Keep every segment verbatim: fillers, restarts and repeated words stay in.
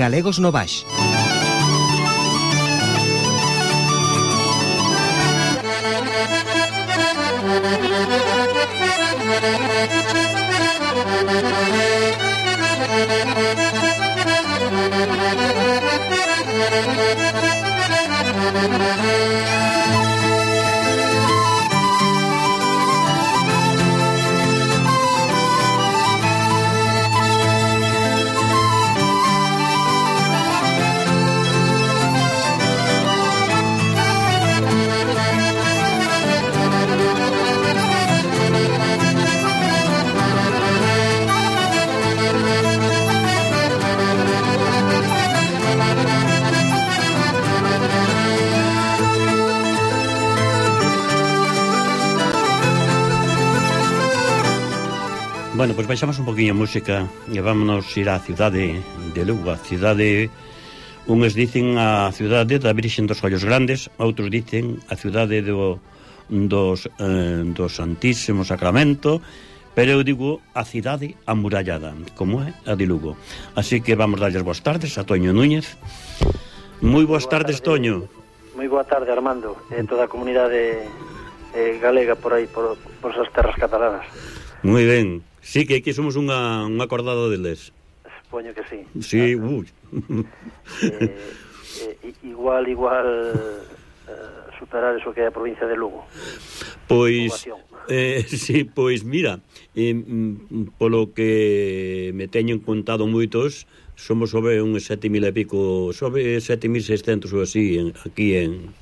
Galegos no Baix. Bueno, pois baixamos un poquinho a música e vámonos ir á cidade de Lugo. A cidade, uns dicen a cidade da Virxen dos Ollos Grandes, outros dicen a cidade do, dos, eh, do Santísimo Sacramento, pero eu digo a cidade amurallada, como é a de Lugo. Así que vamos darles boas tardes a Toño Núñez. Moi boas tardes, Toño. Moi boa tarde, Armando, e toda a comunidade eh, galega por aí, por, por esas terras catalanas. Moi ben. Sí, que aquí somos unha, unha acordada deles. Supoño que sí. Sí, claro. ui. Eh, eh, igual, igual eh, superar eso que é a provincia de Lugo. Pois, eh, sí, pois mira, eh, polo que me teñen contado moitos, somos sobre uns sete mil e pico, sobre sete mil seiscentos ou así, en, aquí en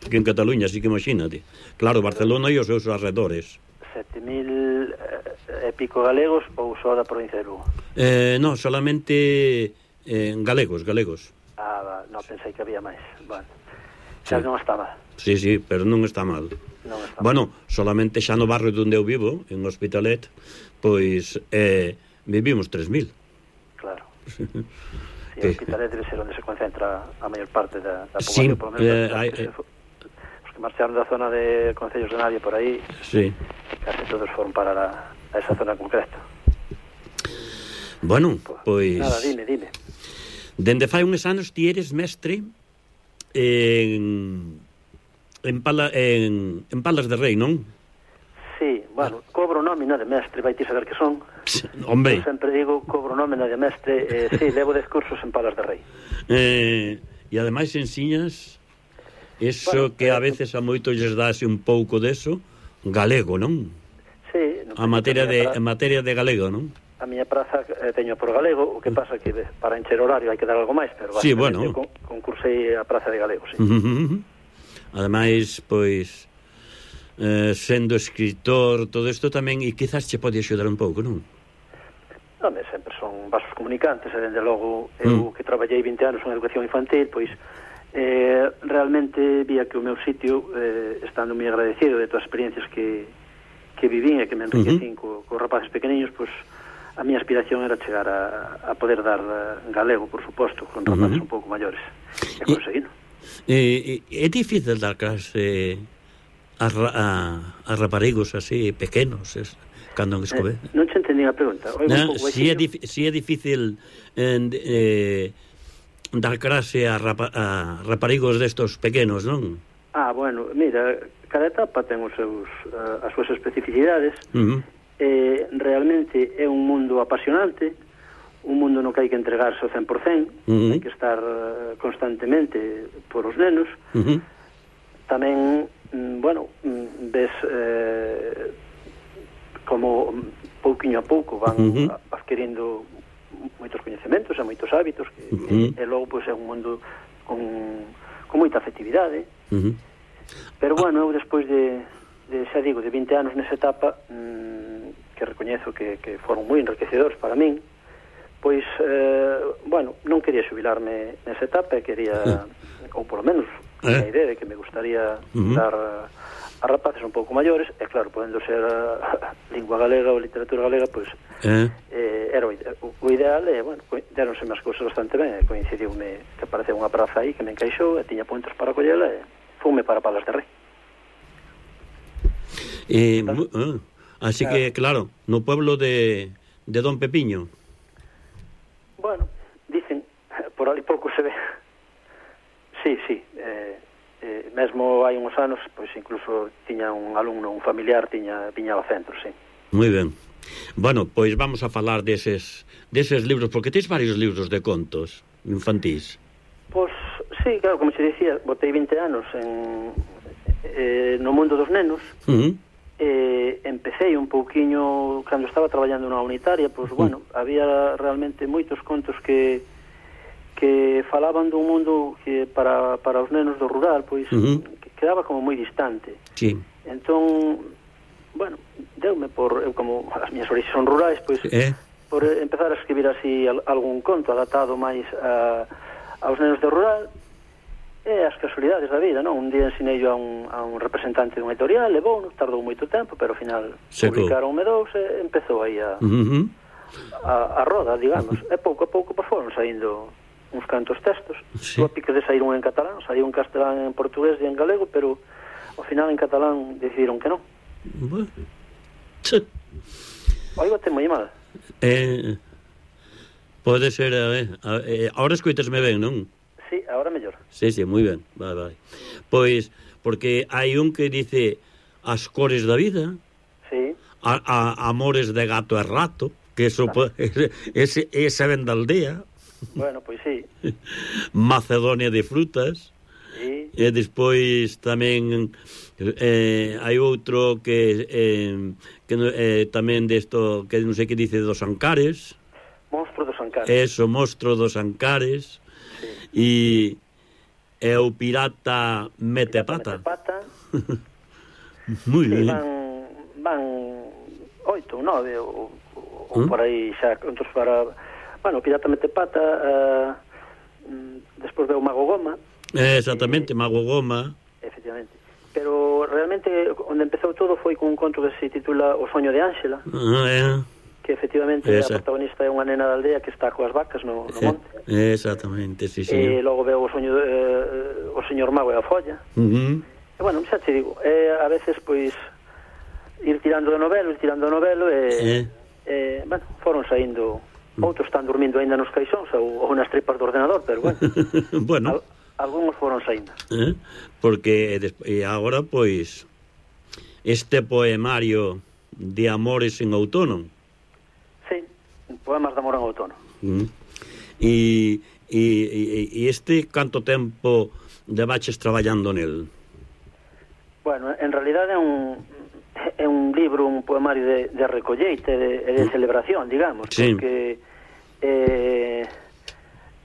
aquí en Cataluña, así que imagínate. Claro, Barcelona e os seus arredores. sete mil e pico galegos ou só da provincia de Lugo? Eh, no, solamente eh, galegos, galegos. Ah, non, pensei que había máis. Bueno, xa sí. Non está mal. Sí, sí, pero non está mal. Non está bueno, mal. solamente xa no barrio onde eu vivo, en Hospitalet, pois eh, vivimos tres mil. Claro. Sí, que... Hospitalet debe ser onde se concentra a maior parte da, da Sí, población, por lo menos eh, da, hay, que, se, que marcharon da zona de Concellos de Navia por aí. Sí. Casi todos foron para la, a esa zona concreta. Bueno, pois... Nada, dime, dime. Dende fai uns anos ti eres mestre en... En, Pala, en, en Palas de Rei, non? Sí, bueno, cobro nómina de mestre, vai ti saber que son. Hombre. Eu sempre digo, cobro nómina de mestre, eh, sí, levo dez cursos en Palas de Rei. Eh, e ademais ensiñas eso bueno, que a veces a moitos lles dase un pouco deso, galego, non? Sí. A materia de, a materia de galego, non? A miña praza eh, teño por galego, o que pasa que para encher horario hai que dar algo máis, pero sí, bueno. eu con, concursei a praza de galego, sí. Uh-huh. Ademais, pois, eh, sendo escritor, todo isto tamén, e quizás che pode axudar un pouco, non? Non, sempre son vasos comunicantes, e dende logo, eu mm. que traballei vinte anos en educación infantil, pois, eh, realmente vía que o meu sitio, eh, estando moi agradecido de todas as experiencias que, que vivín e que me enriquecín uh-huh. co, co rapaces pequeniños, pois, a miña aspiración era chegar a, a poder dar galego, por suposto, con rapaces uh-huh. un pouco maiores. E conseguido. Eh, é difícil dar clase a, a, a raparigos así pequenos es, cando en escove eh, non che entendí a pregunta. No, si, é dif, si é difícil eh, eh, dar clase a, rapa, a raparigos destos pequenos, non? Ah, bueno, mira, cada etapa ten os seus, uh, as súas especificidades. Uh-huh. eh, realmente é un mundo apasionante, un mundo no que hai que entregarse ao cen por cen, uh-huh. hai que estar uh, constantemente por os nenos. Uh-huh. Tamén, mm, bueno, mm, ves eh, como pouquiño a pouco van uh-huh. adquirindo moitos coñecementos e moitos hábitos que, uh-huh. e, e logo pois, é un mundo con, con moita afectividade. Uh-huh. Pero bueno, eu despois de, de, xa digo, de vinte anos nesa etapa, mm, que recoñezo que, que foron moi enriquecedores para min, pois, eh, bueno, non quería xubilarme nesa etapa e quería, ou polo menos a idea de que me gustaría uh-huh. dar a, a rapaces un pouco maiores, e claro, podendo ser a, a lingua galega ou literatura galega, pois uh-huh. eh, era o, o ideal, e, bueno, deronse as cousas bastante ben, e coincidiume que apareceu unha praza aí que me encaixou, e tiña puntos para collela, e fume para Palas de Rei. Eh, uh, así claro. Que, claro, no pueblo de, de Don Pepiño. Bueno, dicen, por ali pouco se ve. Sí, sí, eh, eh, mesmo hai uns anos, pois incluso tiña un alumno, un familiar, tiña viña ao centro, sí. Moi ben. Bueno, pois vamos a falar deses, deses libros, porque tens varios libros de contos infantís. Pois, sí, claro, como te dicía, botei vinte anos en, eh, no mundo dos nenos. Uh-huh. eh, empecé un pouquiño, cando estaba traballando na unitaria, pois, uh-huh. bueno, había realmente moitos contos que que falaban dun mundo que para, para os nenos do rural, pois, uh-huh. que quedaba como moi distante. Sí. Entón, bueno, deume por, eu como as miñas orixes son rurais, pois, eh? por empezar a escribir así algún conto adaptado máis a, aos nenos do rural, e as casualidades da vida, non? Un día ensinei yo a un, a un representante dun editorial, levou, tardou moito tempo, pero ao final publicaronme dous e empezou aí a, uh-huh. a, a roda, digamos. E pouco a pouco pues, foron saindo uns cantos textos. Sí. A pique de sair un en catalán, saiu un castelán, en portugués e en galego, pero ao final en catalán decidiron que non. Bueno. Oígote moi mal. Eh, pode ser, a ver, a, eh, ahora escoitasme ben, non? Sí, ahora mellor. Sí, sí, moi ben, vai, vai. Pois, porque hai un que dice as cores da vida, sí. a, a, amores de gato e rato, que eso ah. ese, ese ven da aldea. Bueno, pois sí. Macedonia de frutas. Sí. E despois tamén eh, hai outro que, eh, que eh, tamén desto, que non sei que dice dos Ancares. Monstro dos Ancares. Eso, Monstro dos Ancares. Sí. E, e o pirata mete pirata pata. Mete pata. Moi sí, ben. Van, van oito ou nove ou, ou ¿Mm? Por aí xa contos para... Bueno, o pirata mete pata, uh, despois veo o Mago Goma. Eh, exactamente, eh, Mago Goma. Efectivamente. Pero realmente onde empezou todo foi con un conto que se titula O soño de Ángela. Ah, eh. Que efectivamente Esa. a protagonista é unha nena da aldea que está coas vacas no, no monte. Eh, exactamente, sí, sí. E logo veo o soño de, eh, o señor Mago e a folla. Uh-huh. E bueno, xa te digo, eh, a veces pois ir tirando de novelo, ir tirando de novelo e, eh. eh, bueno, foron saindo. Outros están dormindo ainda nos caixóns ou, ou nas tripas do ordenador, pero bueno, bueno. Al, algúns foron saindo. Eh? Porque e agora, pois, este poemario de amores en outono. Sí, poemas de amor en outono. Mm. E, e, e este canto tempo levaches traballando nel? Bueno, en realidad é un é un libro, un poemario de, de recolleite e de, de celebración, digamos, sí. Porque eh,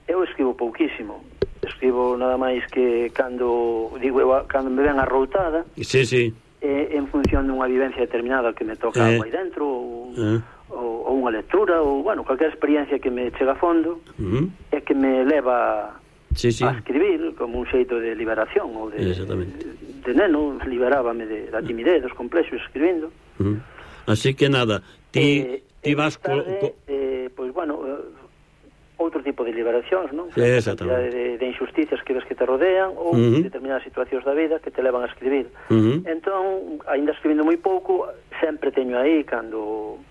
eu escribo pouquísimo, escribo nada máis que cando digo eu, cando me ven arroutada, sí, sí. Eh, en función dunha vivencia determinada que me toca eh. algo aí dentro ou, eh. ou, ou unha lectura ou, bueno, cualquier experiencia que me chega a fondo uh-huh. e que me leva sí, sí. a escribir como un xeito de liberación ou de, de, de neno, liberábame de, da timidez, dos complexos escribindo. Uh-huh. Así que nada, ti, eh, ti vas tarde, co... eh, pois bueno, eh, outro tipo de liberacións, non? Sí, exactamente. De, de injusticias que ves que te rodean ou uh-huh. determinadas situacións da vida que te levan a escribir. Uh-huh. Entón, aínda escribindo moi pouco, sempre teño aí, cando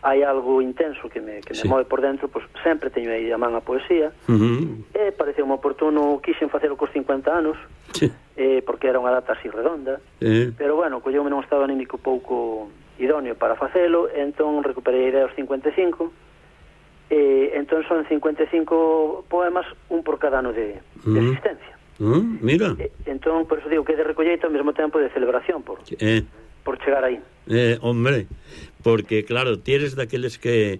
hai algo intenso que me, que me sí. move por dentro, pues, sempre teño aí a man a poesía. Uh-huh. E pareceu un oportuno, quixen facelo cos cincuenta anos, sí. eh, porque era unha data así redonda, uh-huh. pero bueno, colleume nun estado anímico pouco idóneo para facelo, entón recuperei a idea aos cincuenta e cinco, e entón son cincuenta e cinco poemas, un por cada ano de, uh-huh. de existencia. Uh-huh. Mira. E, entón, por eso digo que é de recolleito ao mesmo tempo de celebración, por, eh. por chegar aí. Eh, hombre, porque claro, ti eres daqueles que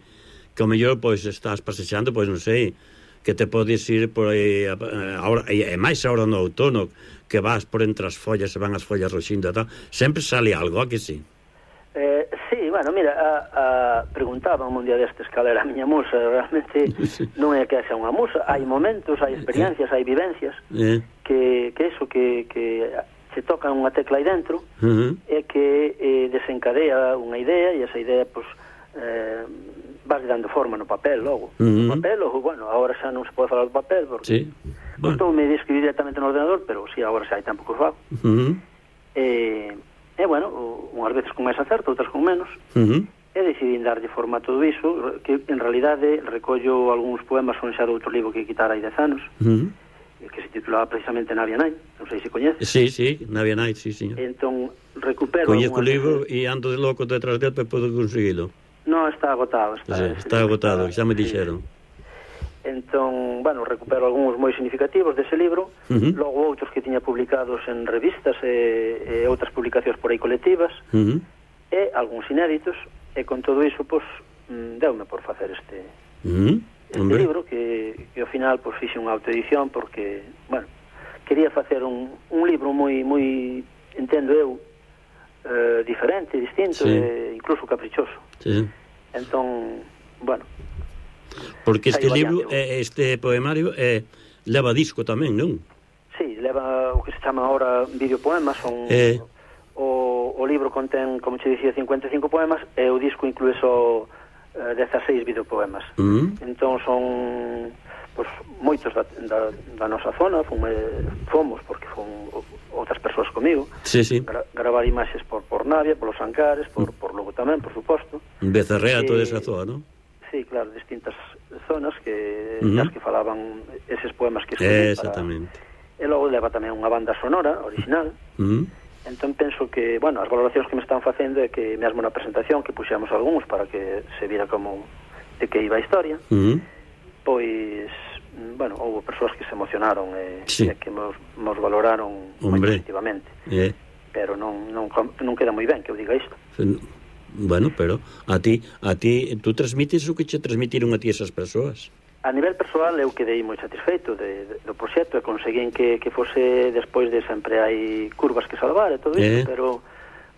que ao mellor pois estás pasexando, pois non sei, que te podes ir por aí agora, e máis agora no outono, que vas por entre as follas e van as follas roxindo e tal, sempre sale algo, a que sí? Eh, sí, bueno, mira, a, a, preguntaba un día destes cal era a miña musa, realmente sí. non é que xa unha musa, hai momentos, hai experiencias, hai vivencias eh. que, que eso, que, que se toca unha tecla aí dentro uh-huh. e que eh, desencadea unha idea e esa idea, pues, eh, vas dando forma no papel logo. Uh-huh. No papel, ou, bueno, agora xa non se pode falar do papel porque sí. bueno. Estou me de escribir directamente no ordenador, pero si sí, agora xa hai tempo que o fago. Uh-huh. E, e, bueno, unhas veces con máis acerto, outras con menos. Uh-huh. e decidín darlle forma a todo iso, que en realidade recollo algúns poemas son xa de outro libro que quitara hai dez anos, uh -huh. que se titulaba precisamente Navia Night, non sei se coñeces. Sí, sí, Navia Night, sí, señor. Entón, recupero... Coñezco o libro e ando de loco detrás del, pero podo conseguilo. No, está agotado. Está, sí, está agotado, xa me dixeron. Sí. Entón, bueno, recupero algúns moi significativos dese libro, uh -huh. logo outros que tiña publicados en revistas e, e outras publicacións por aí colectivas, uh -huh. e algúns inéditos, e con todo iso, pois, deume por facer este... Uh -huh. este Hombre. libro que, que ao final pois fixe unha autoedición porque, bueno, quería facer un, un libro moi, moi, entendo eu, eh, diferente, distinto, sí. e incluso caprichoso. Sí. Entón, bueno. Porque este libro, eh, este poemario, eh, leva disco tamén, non? Sí, leva o que se chama ahora videopoemas, son... Eh. O, o libro contén, como che dicía, cincuenta e cinco poemas, e o disco inclúe só dezasseis videopoemas. Uh -huh. Entón son pues, moitos da, da, da nosa zona, fomos, fomos porque fom outras persoas comigo, sí, sí. Gra gravar imaxes por, por Navia, por Los Ancares, por, uh -huh. por Lugo tamén, por suposto. Becerrea, e, toda esa zona, non? Sí, claro, distintas zonas que, uh -huh. das que falaban eses poemas que escolhi. Exactamente. Para... E logo leva tamén unha banda sonora original. Uh -huh. Entón penso que, bueno, as valoracións que me están facendo é que mesmo na presentación que puxemos algúns para que se vira como de que iba a historia, uh -huh. pois, bueno, houve persoas que se emocionaron e, sí. e que nos, nos valoraron moi positivamente. Eh. Pero non, non, non queda moi ben que eu diga isto. Bueno, pero a ti, a ti, tú transmites o que che transmitiron a ti esas persoas? A nivel persoal eu quedei moi satisfeito de, de, do proxecto e conseguín que, que fose despois de sempre hai curvas que salvar e todo isto, eh. pero,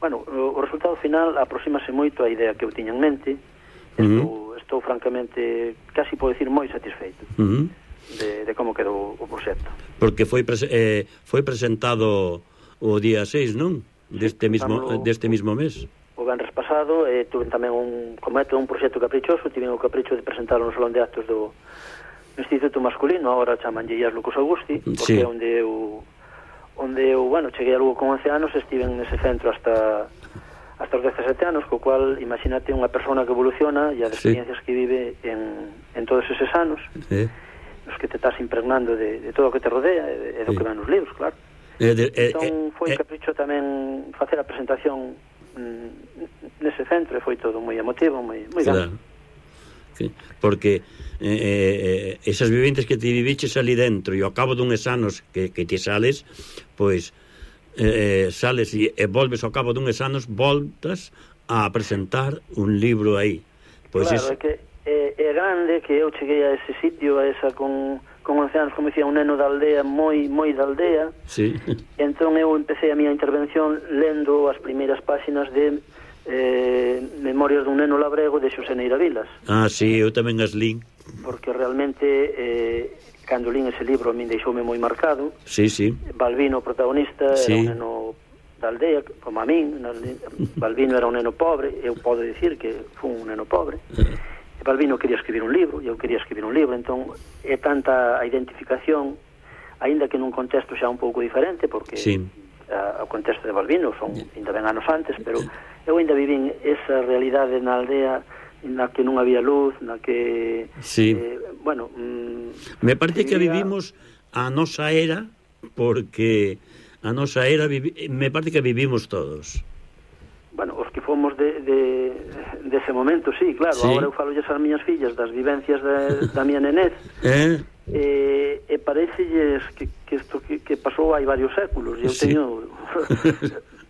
bueno, o, o resultado final aproximase moito a idea que eu tiña en mente. Uh -huh. estou, estou francamente, casi podo decir, moi satisfeito uh -huh. de, de como quedou o proxecto. Porque foi, pres eh, foi presentado o día seis, non? Deste, sí, mismo, no, deste mismo mes. O venres pasado, e tuve tamén un, como é un proxecto caprichoso, tive o capricho de presentarlo no Salón de Actos do Instituto Masculino, agora chamanlle Ias Lucas Augusti, porque sí. é onde eu, onde eu, bueno, cheguei a Lugo con once anos, estive nese centro hasta hasta os dezasete anos, co cual, imagínate unha persona que evoluciona e as experiencias sí. que vive en, en todos eses anos, sí. os que te estás impregnando de, de todo o que te rodea, e, e do sí. que van nos libros, claro. Eh, de, eh, entón, foi eh, capricho tamén facer a presentación nese centro, e foi todo moi emotivo, moi, moi claro. grande. Sí, porque eh, eh, esas vivientes que te viviches ali dentro e ao cabo duns anos que, que te sales, pois eh, sales e, e volves ao cabo duns anos, voltas a presentar un libro aí. Pois claro, es... é que é, é grande que eu cheguei a ese sitio, a esa con, con once anos, como dicía, un neno da aldea, moi moi da aldea. Sí. Entón eu empecé a miña intervención lendo as primeiras páxinas de eh, Memorias dun neno labrego de Xosé Neira Vilas. Ah, sí, eu tamén as lín. Porque realmente eh, cando lín ese libro a min deixoume moi marcado. Sí, sí. Balbino, o protagonista, sí. era un neno da aldea, como a min. Balbino era un neno pobre, eu podo dicir que fun un neno pobre. Balbino quería escribir un libro, e eu quería escribir un libro, entón é tanta a identificación, aínda que nun contexto xa un pouco diferente, porque sí. a, o contexto de Balbino son ainda ben anos antes, pero eu ainda vivín esa realidade na aldea na que non había luz, na que sí. eh, bueno, mm, me parece que vivía... vivimos a nosa era, porque a nosa era vivi... me parece que vivimos todos. Bueno, os que fomos de, de, de ese momento, sí, claro, sí. Agora eu falo as miñas fillas das vivencias de, da miña nenez, eh? e, e parecelles que, que isto que, que pasou hai varios séculos, e eu sí. teño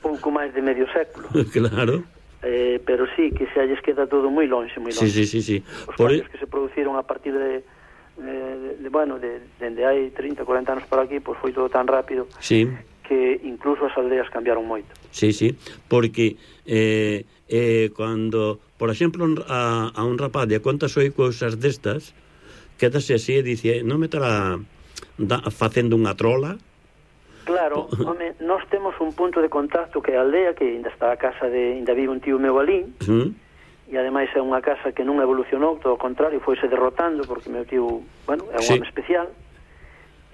pouco máis de medio século. Claro. Eh, pero sí, que xa lles queda todo moi lonxe, moi lonxe. Sí, sí, sí, sí. Os Por cambios e... que se produciron a partir de, de, de bueno, de, dende hai trinta, corenta anos para aquí, pois foi todo tan rápido. Sí. Que incluso as aldeas cambiaron moito. Sí, sí, porque eh, eh, cando, por exemplo, a, a un rapaz de contas oi cousas destas, quedase así e dice, non me estará da, facendo unha trola? Claro, home, nós temos un punto de contacto que é a aldea, que ainda está a casa de, ainda vive un tío meu alí, uh-huh. e ademais é unha casa que non evolucionou, todo o contrario, foise derrotando, porque meu tío, bueno, é un sí. home especial.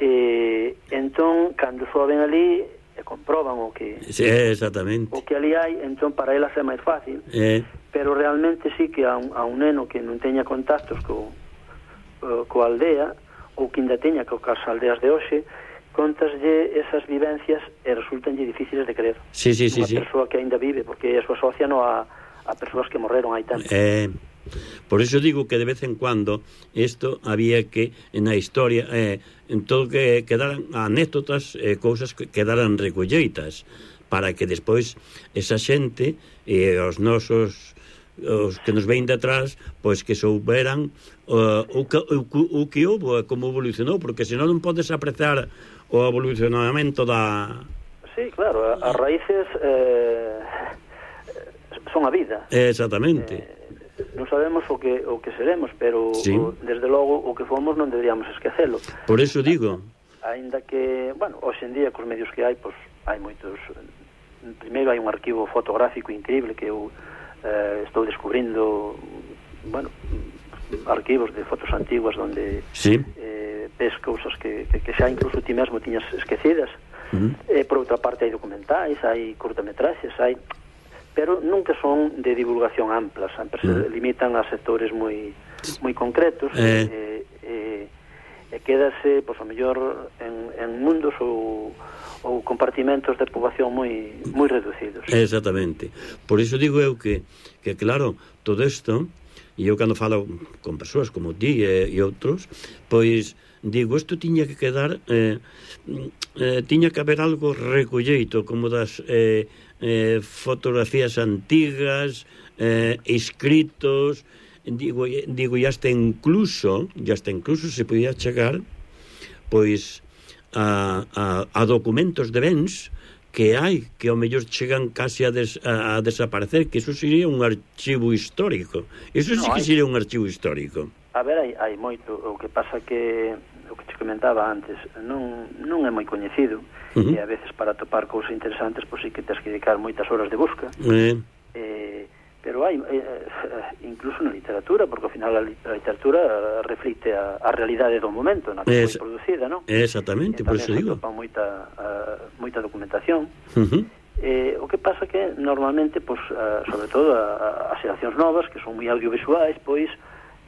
E entón, cando soa ben ali, e comproban o que sí, exactamente. o que ali hai, entón para elas é máis fácil, eh. pero realmente sí que a un, a un neno que non teña contactos co, uh, coa aldea, ou que ainda teña co cas aldeas de hoxe, contaslle esas vivencias e resultanlle difíciles de creer. Sí, sí, sí, unha sí. persoa que ainda vive, porque eso asocia no a, a persoas que morreron hai tempo. Eh, por eso digo que de vez en cuando isto había que, na historia, eh, en todo que quedaran anécdotas, eh, cousas que quedaran recolleitas, para que despois esa xente e eh, os nosos os que nos vein detrás, pois que souberan uh, o, que, o, o que houve, como evolucionou, porque senón non podes apreciar o evolucionamento da... Sí, claro, as raíces eh, son a vida. Exactamente. Eh, non sabemos o que o que seremos, pero sí. o, desde logo o que fomos non deberíamos esquecelo. Por eso digo. Ainda que, bueno, hoxe en día cos medios que hai, pois hai moitos. Primeiro hai un arquivo fotográfico increíble que eu eh, estou descubrindo, bueno, arquivos de fotos antiguas onde sí. eh, ves cousas que, que, que xa incluso ti mesmo tiñas esquecidas. Uh-huh. Eh, por outra parte hai documentais, hai curtametraxes, hai, pero nunca son de divulgación ampla, sempre se uh-huh. limitan a sectores moi moi concretos eh. e, e, e quédase, pois, a mellor en, en mundos ou ou compartimentos de poboación moi moi reducidos. Exactamente. Por iso digo eu que, que claro, todo isto, e eu cando falo con persoas como ti e, e outros, pois digo, isto tiña que quedar eh, eh, tiña que haber algo recolleito, como das eh, eh, fotografías antigas, eh, escritos, digo, digo, e hasta incluso e hasta incluso se podía chegar pois a, a, a documentos de bens que hai, que ao mellor chegan casi a, des, a, a desaparecer, que iso sería un archivo histórico. Iso no, sí que hai... sería un archivo histórico. A ver, hai, hai moito, o que pasa que o que te comentaba antes, non, non é moi coñecido, uh-huh. e a veces para topar cousas interesantes, pois sí que tens que dedicar moitas horas de busca. Eh. Eh, pero hai, eh, incluso na literatura, porque ao final a literatura reflite a, a realidade do momento na que es, foi producida, non? Exactamente, por eso digo. Topa moita, uh, moita documentación. Uh-huh. Eh, o que pasa que normalmente, pois, uh, sobre todo a, a, as xeracións novas, que son moi audiovisuais, pois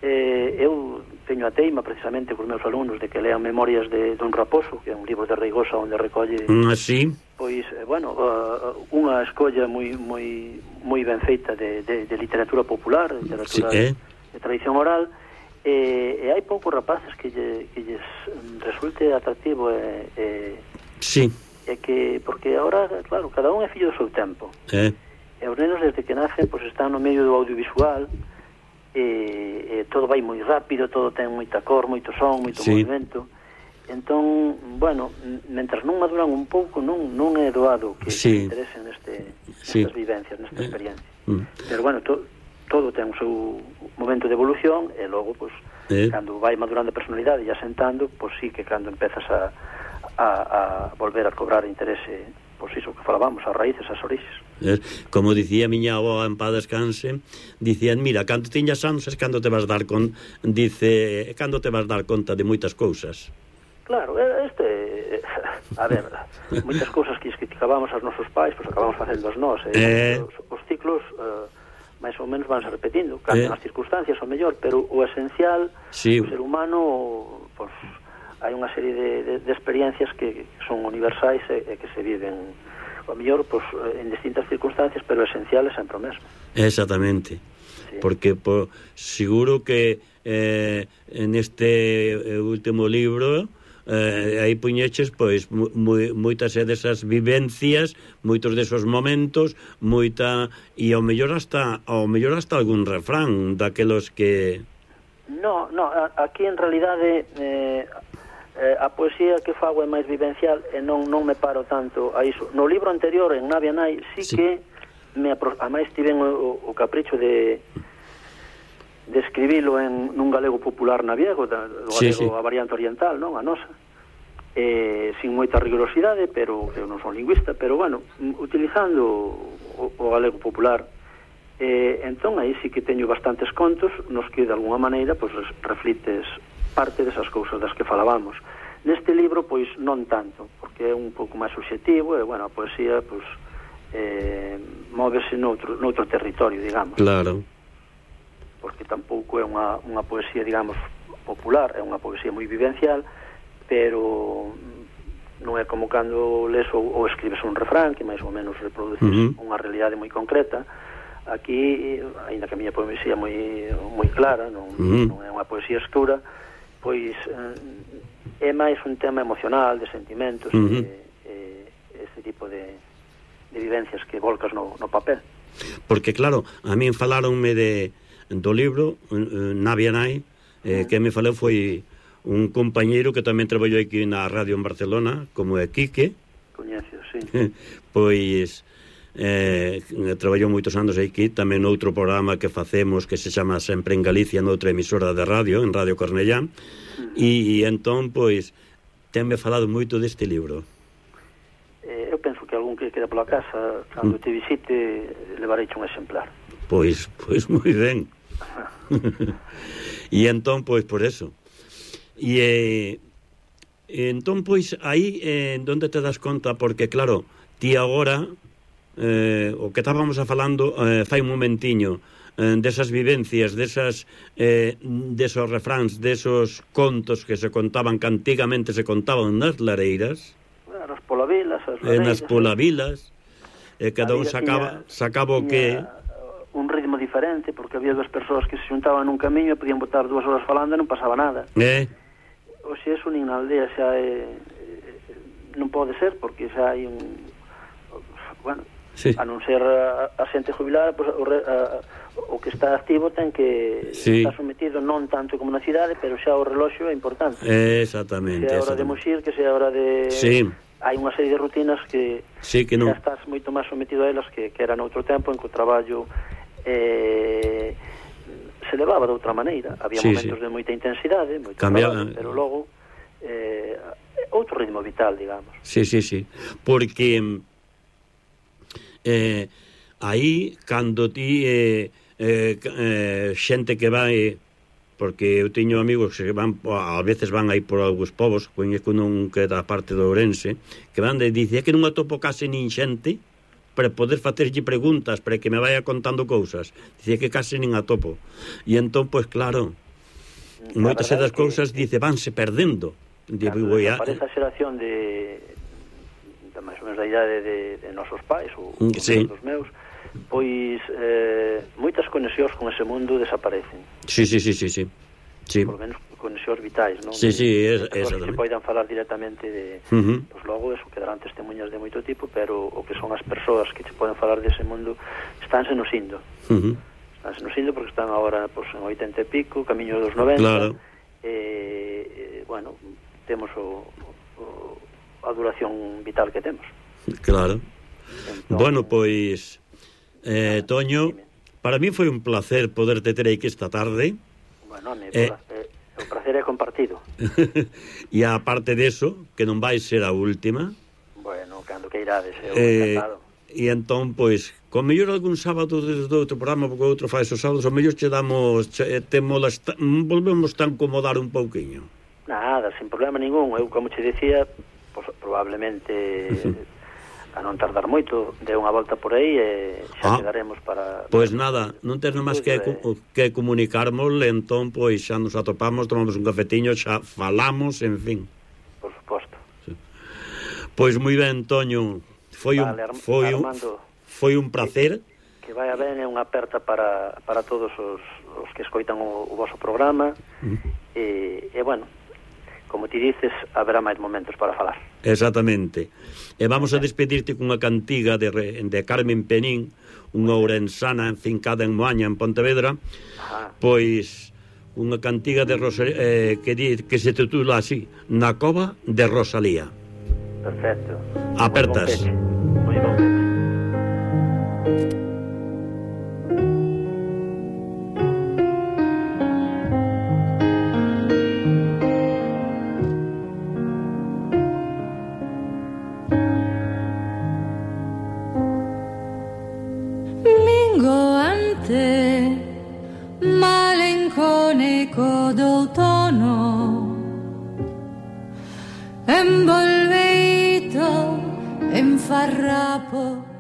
eh, eu teño a teima precisamente cos meus alumnos de que lean Memorias de Don Raposo, que é un libro de Reigosa onde recolle mm, sí. pois, eh, bueno, uh, unha escolla moi moi moi ben feita de, de, de literatura popular, de literatura sí, eh? de, de tradición oral, e, e hai poucos rapaces que, lle, que lles resulte atractivo e, e, sí. e que, porque agora, claro, cada un é fillo do seu tempo, eh? e os nenos desde que nacen pois están no medio do audiovisual, e, e todo vai moi rápido, todo ten moita cor, moito son, moito sí. movimento. Entón, bueno, mentras non maduran un pouco, non non é doado que sí. se interesen neste, sí. nestas vivencias, nesta eh. experiencia. Mm. Pero bueno, to, todo ten o seu momento de evolución, e logo, pois, eh. cando vai madurando a personalidade e asentando, pois sí que cando empezas a, a, a volver a cobrar interese, pois iso que falábamos, as raíces, as orixes. Como dicía a miña avó en paz descanse, dicían, mira, cando tiñas anos es cando te vas dar con, dice, cando te vas dar conta de moitas cousas. Claro, este, a ver, moitas cousas que criticábamos aos nosos pais, pois acabamos facendo as nós, eh? eh. Os, os ciclos eh, máis ou menos vanse repetindo, cambian eh. as circunstancias ao mellor, pero o esencial, sí. O ser humano, pois, hai unha serie de, de, de experiencias que son universais e, e que se viven ao mellor, pois, en distintas circunstancias, pero esenciales sempre o mesmo. Exactamente. Sí. Porque por, seguro que eh, en este último libro eh, aí puñeches pois moi, moitas desas vivencias, moitos desos momentos, moita, e ao mellor hasta ao mellor hasta algún refrán daquelos que... No, no, aquí en realidade eh, eh, a poesía que fago é máis vivencial e non non me paro tanto a iso. No libro anterior, en Navia Nai, sí, sí. que me apro... a máis tiven o, o capricho de de escribilo en nun galego popular naviego, da, do galego sí, sí. a variante oriental, non? A nosa. Eh, sin moita rigorosidade, pero eu non son lingüista, pero bueno, utilizando o, o galego popular. Eh, entón, aí sí que teño bastantes contos nos que, de alguna maneira, pues, reflites parte desas cousas das que falábamos. Neste libro, pois, non tanto, porque é un pouco máis subxetivo, e, bueno, a poesía, pois, eh, móvese noutro, noutro territorio, digamos. Claro. Porque tampouco é unha, unha poesía, digamos, popular, é unha poesía moi vivencial, pero non é como cando les ou, ou escribes un refrán que máis ou menos reproduces uh-huh. unha realidade moi concreta. Aquí, aínda que a miña poesía é moi, moi clara, non, uh-huh. non é unha poesía escura, pois eh, é máis un tema emocional, de sentimentos, uh-huh. e, e este tipo de, de vivencias que volcas no, no papel. Porque, claro, a min falaronme de, do libro uh, Navia Nai, eh, uh-huh. que me falou foi un compañeiro que tamén traballou aquí na radio en Barcelona, como é Quique. Coñecio, sí. Pois eh, traballou moitos anos aquí, tamén noutro programa que facemos que se chama Sempre en Galicia, noutra emisora de radio, en Radio Cornellá, uh-huh. e, e entón, pois, tenme falado moito deste libro. Eh, eu penso que algún que queda pola casa, cando te visite, levareiche un exemplar. Pois, pois moi ben. E entón, pois, por eso. E eh, entón, pois, aí eh, onde te das conta, porque, claro, ti agora eh, o que estábamos a falando eh, fai un momentiño eh, desas vivencias, desas eh, desos refráns, desos contos que se contaban, que antigamente se contaban nas lareiras, nas polavilas, as lareiras, eh, nas polavilas, e eh, cada un sacaba, sacaba o que un ritmo diferente, porque había dúas persoas que se xuntaban nun camiño e podían botar dúas horas falando e non pasaba nada. Eh? O se eso nin na aldea xa é, non pode ser, porque xa hai un, bueno, sí. a non ser a, a xente jubilada, pues, o, a, o que está activo ten que sí. estar sometido non tanto como na cidade, pero xa o reloxo é importante. Exactamente. Que sea hora de muxir, que sea hora de... Sí. Hai unha serie de rutinas que, sí, que non. xa estás moito máis sometido a elas que, que era noutro tempo, en que o traballo eh, se levaba de outra maneira. Había sí, momentos sí. de moita intensidade, moito traballo, pero logo eh, outro ritmo vital, digamos. Sí, sí, sí. Porque eh, aí, cando ti eh, eh, eh, xente que vai, porque eu teño amigos que van, a veces van aí por algúns povos, coñeco non que da parte do Ourense, que van de dicir que non atopo case nin xente para poder facerlle preguntas, para que me vaya contando cousas. Dicía que case nin atopo. E entón, pois claro, moitas das cousas, dice, vanse perdendo. Claro, a... parece a xeración de, de máis ou menos da idade de, de nosos pais, ou sí. dos meus, pois eh, moitas conexións con ese mundo desaparecen. Sí, sí, sí, sí, sí. sí. Por lo menos conexións vitais, non? Sí, sí, es, es, que se poidan falar directamente de... Uh-huh. Pois logo, eso, quedarán testemunhas de moito tipo, pero o que son as persoas que che poden falar dese mundo estánse nos indo. Uh-huh. Estánse nos indo porque están agora pois, en oitenta e pico, camiño dos noventa. Claro. E, eh, bueno, temos o, o, a duración vital que temos. Claro. Entón, bueno, pois, eh, Toño, dime. Para mí foi un placer poderte ter aquí esta tarde. Bueno, me eh, eh, o placer é compartido. E aparte deso, que non vai ser a última. Bueno, cando que irades, eu eh, encantado. E entón, pois, con mellor algún sábado desde outro programa, porque outro fai esos sábados, o mellor che damos, che, te molesta, volvemos a incomodar un pouquiño. Nada, sin problema ningún. Eu, como che decía, pues, probablemente a non tardar moito, de unha volta por aí e xa ah, quedaremos para... Pois nada, non tens máis que, de... que comunicarmos, entón, pois xa nos atopamos, tomamos un cafetiño, xa falamos, en fin. Por suposto. Sí. Pois moi ben, Toño, foi vale, un foi Armando, un foi un placer. Que, que vai a ben, é unha aperta para, para todos os, os que escoitan o, o voso programa, mm. e, e, bueno, como ti dices, haberá máis momentos para falar. Exactamente. E vamos a despedirte cunha cantiga de, de Carmen Penín, unha ourensana enfincada en Moaña, en Pontevedra. Ajá. Pois unha cantiga de Rosalía, eh, que, di, que se titula así, Na cova de Rosalía. Perfecto. Apertas. Moi bon peche. Malenconico d'autunno, envolveito en farrapo